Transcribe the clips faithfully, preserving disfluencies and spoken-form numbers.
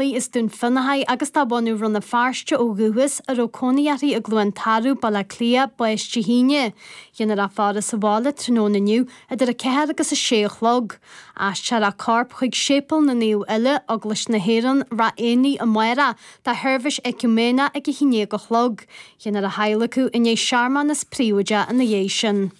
As Dún Fionnachaidh agus de bhunadh Rann na Feirste ó dhúchas, a raibh cónaí uirthi i gCluain Tarbh, Baile Átha Cliath, bás Dé hAoine. Dhéanfar a faire sa bhaile tráthnóna inniu idir a ceathair agus a sé a chlog. Aistreofar a corp chuig Séipéal na Naomh Uile, Eaglais na hÉireann, Ráth Éanaigh amárach do sheirbhís eiciúiméineach ag a haon déag a chlog. Dhéanfar a hadhlacadh i ndiaidh searmanas príobháideach ina dhiaidh sin.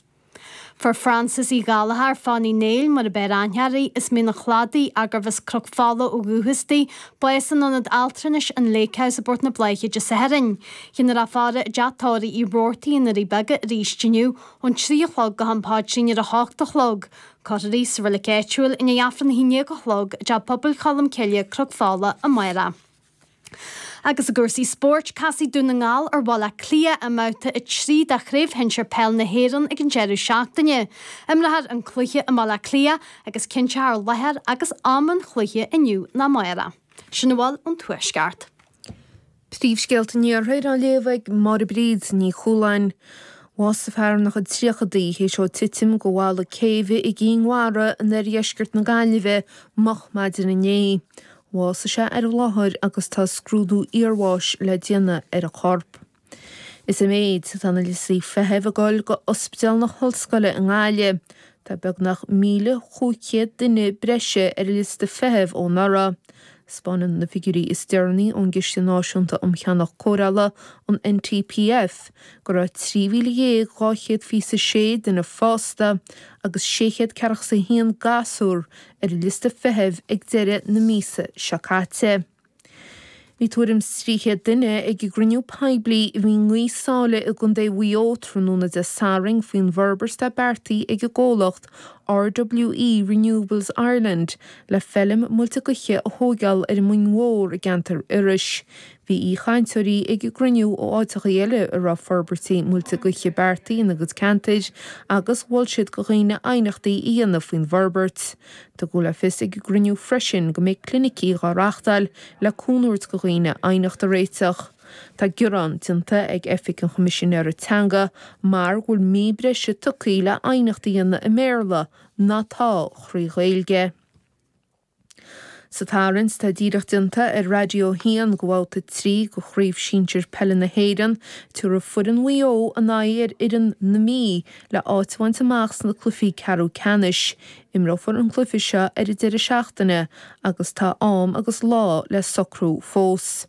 Fuair Frances Uí Ghallchóir Fánaí Uí Néill mar ab fhearr aithne uirthi, as Mín an Chladaigh, gurbh as Cnoc Fola ó dhúchas di, bás in ionad altranais an Lake House i bPort na Bláiche Dé Sathairn. Dhéanfar a faire i dteach tórraimh Uí Robhartaigh i nDoirí Beaga arís inniu ón trí a chlog go ham paidrín ar a hocht a chlog. Cuirfear í sa reilig áitiúil i ndiaidh Aifreann a haon déag a chlog i dTeach Pobail Cholm Cille, Cnoc Fola, amárach. Agus i gcúrsaí spóirt, casfaidh Dún na nGall ar Bhaile Átha Cliath i mbabhta a trí de Chraobh Shinsir Peil na hÉireann ag an deireadh seachtaine. Imreofar an cluiche i mBaile Átha Cliath agus cinnteofar láthair agus am an chluiche inniu nó amárach. Sin a bhfuil ón Tuaisceart. Príomhscéalta an Iarthair á léamh ag Máire Bríd Ní Chualáin. Bhásaigh fear ina chuid tríochadaí théis dó titim de bhalla céibhe i gCinn Mhara in oirdheisceart na Gaillimhe moch maidin inné. Bhásaigh sé ar an láthair agus tá scrúdú iarbháis le déanamh ar a chorp. Is i méid atá na liostaí feithimh ag dul go Ospidéal na hOllscoile i nGaillimh. Tá beagnach míle chúig chéad duine breise ar an liosta feithimh ó anuraidh. Spáineann na figiúirí is deireanaí ón gCiste Náisiúnta um Cheannach Cóireála, an NTPF, go raibh trí mhíle dhéag dhá chéad fiche is a sé duine fásta agus sé chéad ceathracha is a haon gasúr ar an liosta feithimh ag deireadh na míosa seo caite. Bhí tuairim is trí chéad duine ag an gcruinniú poiblí a bhí i nGaoth Sáile i gContae Mhaigh Eo tráthnóna Dé Sathairn faoin bhforbairt atá beartaithe ag an gcomhlacht RWE Renewables Ireland le feilm muilte gaoithe a thóigeáil ar an Mhuing Mhór i gceantar Iorrais. Bhí aoichainteoirí ag an gcruinniú ó áiteacha eile a raibh forbairtí muilte gaoithe beartaithe ina gcuid ceantair agus mhol siad do dhaoine aighneachtaí a dhéanamh faoin bhforbairt. Tugadh le fios ag an gcruinniú freisin go mbeidh clinicí dhá reáchtáil le cúnamh a thabhairt do dhaoine aighneacht a réiteach. Tá gearán déanta ag Oifig an Choimisinéara Teanga mar go bhfuil mí breise tugtha le aighneacht a dhéanamh i mBéarla ná tá thrí Ghaeilge. Sa tarraingt atá díreach déanta ar Raidió a hAon do bhabhta trí de Chraobh Shinsir Peile na hÉireann, tabharfaidh foireann Mhaigh Eo a n-aghaidh ar fhoireann na Mí le áit a bhaint amach sna cluichí ceathrú ceannais. Imreofar an cluiche seo ar an deireadh seachtaine agus tá am agus lá le socrú fós.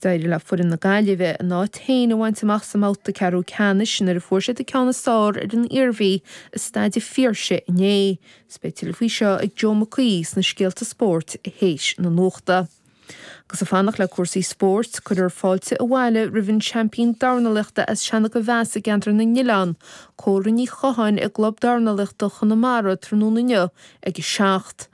D'éirigh le foireann na Gaillimhe a n-áit féin a bhaint amach sa mbabhta ceathrú ceannais nuair a fuair siad an ceann is fearr ar an Iarmhí i Staid an Phiarsaigh inné. Is beidh tuilleadh faoi seo ag Joe Mac Aoidh sna scéalta spóirt théis na nuachta. Agus ag fanacht le cúrsaí spóirt, cuirfear fáilte abhaile roimh an seaimpín dornálaíochta as Seanadh Mheas i gceantar na nOileán, Córa Ní Chatháin i gClub Dornálaíochta Chonamara tráthnóna inniu ag a seacht.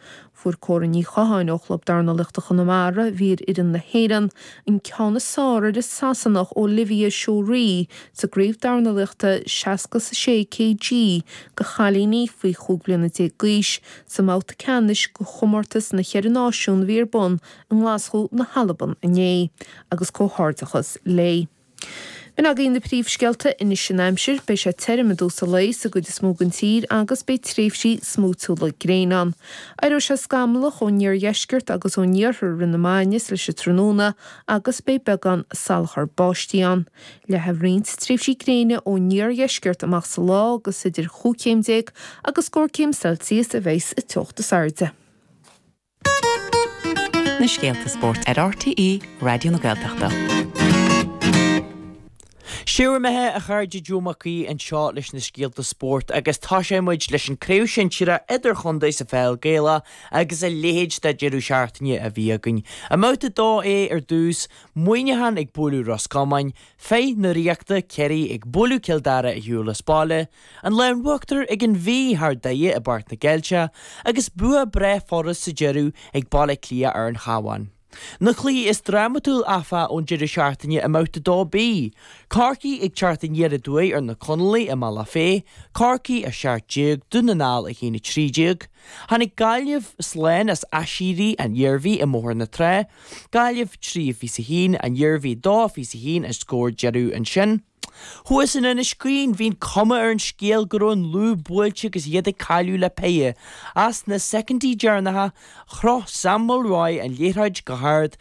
Fuair Córa Ní Chatháin ó Chlub Dornálaíochta Chonamara, a bhí ar fhoireann na hÉireann, an ceann is fearr ar an Sasanach Olivia Shorey sa gcraobh dornálaíochta seasca is a sé kg do chailíní faoi chúig bliana déag d'aois sa mbabhta ceannais de chomórtas na Cheithre Náisiún a bhí ar bun i nGlaschú na hAlban inné, agus comhghairdeachas léi. B'in agaibh na príomhscéalta anois an aimsir, beidh sé tirim i dtús an lae sa gcuid is mó den tír agus beidh tréimhsí smúitiúla gréine ann. Éireoidh sé scamallach ón iardheisceart agus ón iarthar i rith na maidine is leis an tráthnóna agus beidh beagán salachar báistí ann. Leathfaidh roinnt tréimhsí gréine ón iardheisceart amach sa lá agus idir chúig chéim déag agus scór céim Celsius a bheidh sa teocht is airde. Na scéalta spóirt ar RTÉ Raidió na Gaeltachta. Siúr imithe a chairde Joe Mac Aoidh anseo leis na scéalta spóirt agus tosóidh muid leis an craobh shinsir idirchontae sa pheil Gaelach agus a leithéid de deireadh seachtaine a bhí againn. I mbabhta dó A ar dtús, Muineachán ag bualadh Ros Comáin, Feith na Ríochta, Ciarraí ag bualadh Cill Dara ar shiúl as baile, an lámh in uachtar ag an Mhí thar Doire i bPáirc na gCeilteach agus bua breá furast sa deireadh ag Baile Átha Cliath ar an Chabhán. Na cluichí is drámatúil áfach ón deireadh seachtaine i mbabhta dó B, Corcaigh ag teacht aniar aduaidh ar na Conallaigh i mBealach Féich, Corcaigh a seacht déag, Dún na nGall a haon a trí déag. Tháinig Gaillimh slán as aiséirí an Iarmhí i mBóthar na Trá, Gaillimh trí fiche a haon, an Iarmhí dó fiche a haon an scór deiridh ansin. Thuas in Inis Caoin, bhí an cuma ar an scéal go raibh an lúb buailte agus iad ag cailleadh le péire. Ach sna soicindí deireanacha, chroch Sam Mulroy an liathróid go hard